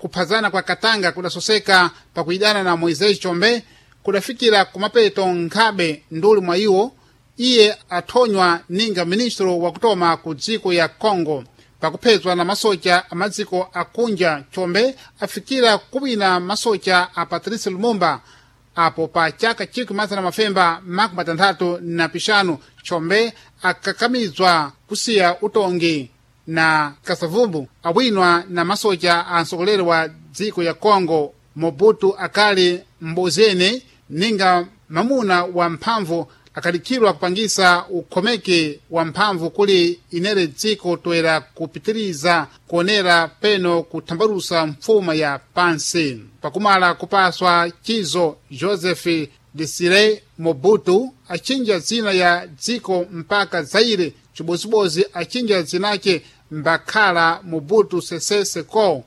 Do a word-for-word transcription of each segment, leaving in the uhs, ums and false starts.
Kuphazana kwa Katanga kudasoseka pakuidana na Moisés Chombe kudafikira kumapeto nkhabe nduli mwa iwo iye athonywa ninga ministro wakutoma ku dziko ya Congo pakuphezwa na masocha a madziko akunja. Chombe afikira kuwina masocha a Patrice Lumumba apo pa chaka chikwi mazana mafemba makumi matanthatu na pixanu. Chombe akakamizwa kusiya utongi na Kasavumbu awinwa na masocha a mtsogoleri wa dziko ya Congo. Mobutu akali mbozene ninga mamuna wa mphamvu akalikhidwa kupangisa ukhomeke wa mphamvu kuli inere dziko toera kupitiriza kuonera peno kuthambalusa mfuma ya pansi. Pakumala kupaswa chizo, Joseph Desire Mobutu achinja dzina ya dziko mpaka Zaire, chibozibodzi achinja dzinace mbakhala Mobutu Sese Seko.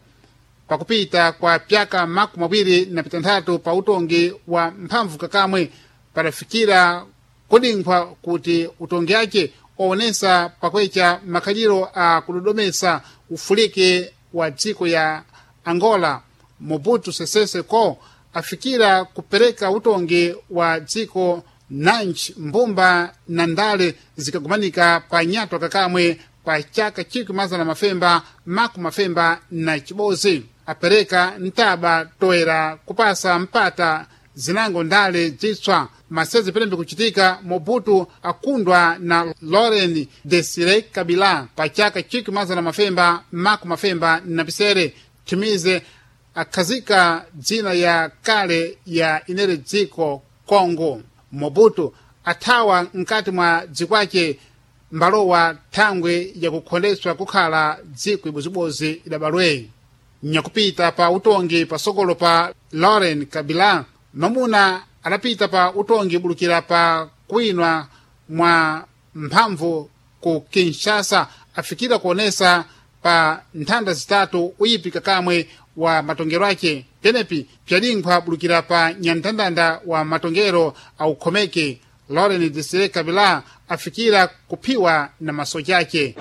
Pakupita kwa pyaka makumi awiri na pitanthatu pa utongi wa mphamvu kakamwe padafikira kudinkhwa kuti utongi ake waonesa pakwecha makhaliro a kudodomesa ufulike wa dziko ya Angola. Mobutu Sese Seko afikira kupereka utongi wa dziko nanji mbumba na ndale zikagumanika pa nyatwa kakamwe pa chaka chikwi mazana mafemba makumi mafemba na chibodzi apereka ntaba toera kupasa mpata zinango ndale zitswa masezi pelembe kuchitika. Mobutu akundwa na Laurent Desire Kabila pa chaka chikwi mazana mafemba makumi mafemba na pisere chimize akhazika dzina ya kale ya inere dziko Congo. Mobutu athawa mkati mwa dzikwace mbalowa thangwe yakukhondeswa kukhala dziko ibozibodzi idabalwe. Nyakupita pa utongi pasogolo pa Laurent Kabila mamuna adapita pa utongi bulukira pa kuwinwa mwa mphamvu ku Kinshasa afikira kuonesa pa nthanda zitatu uyipi kakamwe wa matongero ake penepi pyadinkhwa bulukira pa nyanthandanda wa matongero aukhomeke. Laurent Desire Kabila afikira kuphiwa na masocha ake.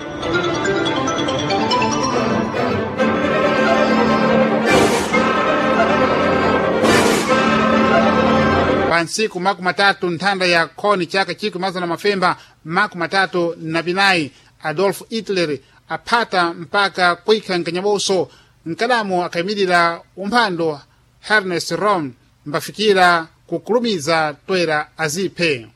Pa ntsiku makumi matatu nthanda ya khoni chaka chikwi mazana mafemba makumi matatu na pinayi Adolf Hitler aphata mpaka kuikha nkanyaboso mkadamo akayimirira umphando Ernest Röhm mbafikira kukulumiza toera aziphe.